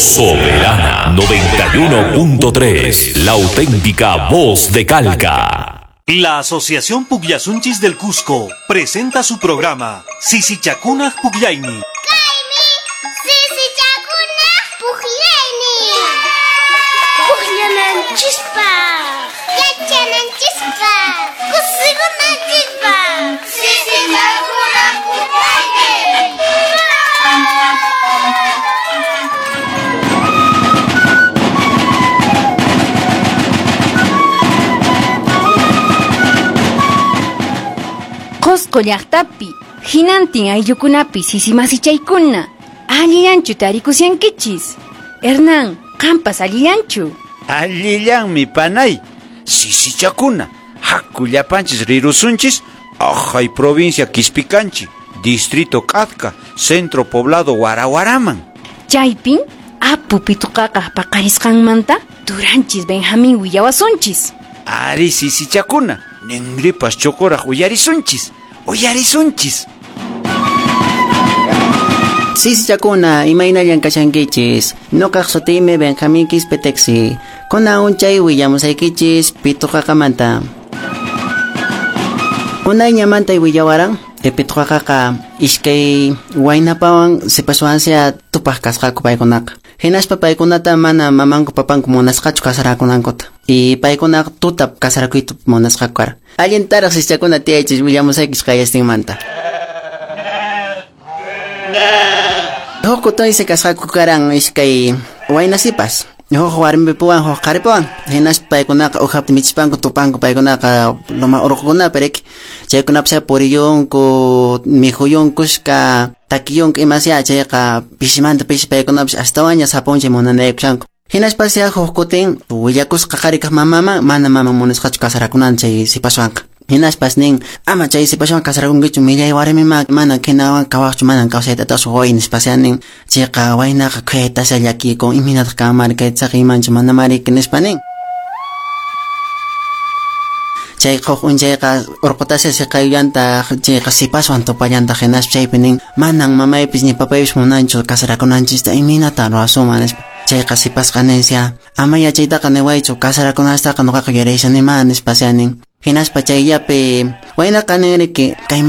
Soberana 91.3, la auténtica voz de Calca. La Asociación Pugllasunchis del Cusco presenta su programa Sisichacuna Pugllayni. Sisichacuna Pugllayni. Pugllananchispaq, yachananchispaq, kusikunanchispaq. Sisichacuna Pugllayni. Qosqo llaqtapi, hinantin ayllukunapi sisimasichaykuna, allillanchu tarikusyankichis. Hernán, qampas allillanchu. Allillanmi panay, sisichakuna, haku llapanchis rirusunchis, ajay provincia Quispicanchi, distrito K'atka, centro poblado Warawaraman. Chaypin, apu pituqaqaq paqarisqanmanta, turanchis Benjamín willawasunchis. Ari sisichakuna, ninripas chokoraq uyarisunchis, uyarisunchis. Sisichakuna, imaynallan kashankichis. Nuqaq sutiymi Benjamín Quispe Texi. Kunan unchay willamusaykichis pituqaqamanta. Unayñamanta willawaran, pituqaqaqa iskay waynapawan sipaswansia tupaq kasqaku paykunaqa. Hinaspa paykunata mana mamanku papanku munasqachu kasarakunankuta. Y paykunaqa tuta kasarakuyta munasqaku kara. Allintaraq sisichakuna tiyaychis willamusaykichis qallastinmanta. Huk kutinsi kasqaku karan iskay waynasipas. Huk warmipiwan huk qharipiwan. Hinaspa paykunaqa uqhapta michispanku tupanku paykunaqa loma urqukunapi riki. Chaykunapas puriyunku, mikhuyunkushka, takiyunku imasya chayqa pisimanta pisi paykunapas astawanña sapunchay munanaykushanku. Hinaspa huk kutin willakusqa qharikaq mamaman mana maman munasqachu kasarakunan chay sipaswanqa. Hinaspas nin, ama chay sipaswan kasarakunkichu millay warmima mana kinawan kawaqchu manan kawsayta atasu way nispasya nin. Chayqa waynaqa khuyaytasya llakikun imaynataq kanmari kaytaqa imanchu mana mariki nispa nin. Chay huk unchayqa urqutasya siqayullantaq chayqa sipaswan tupallantaq hinaspa chaypi nin manan mamaypis ni papaypis munanchu kasarakunanchista imaynata ruwasunman nispa. Chayqa sipasqa ninsya ama yachaytaqa niwaychu kasarakunastaqa nuqaqa yuyaraysanima nispasya nin. Hinaspa chayllapi waynaqa ninriki kay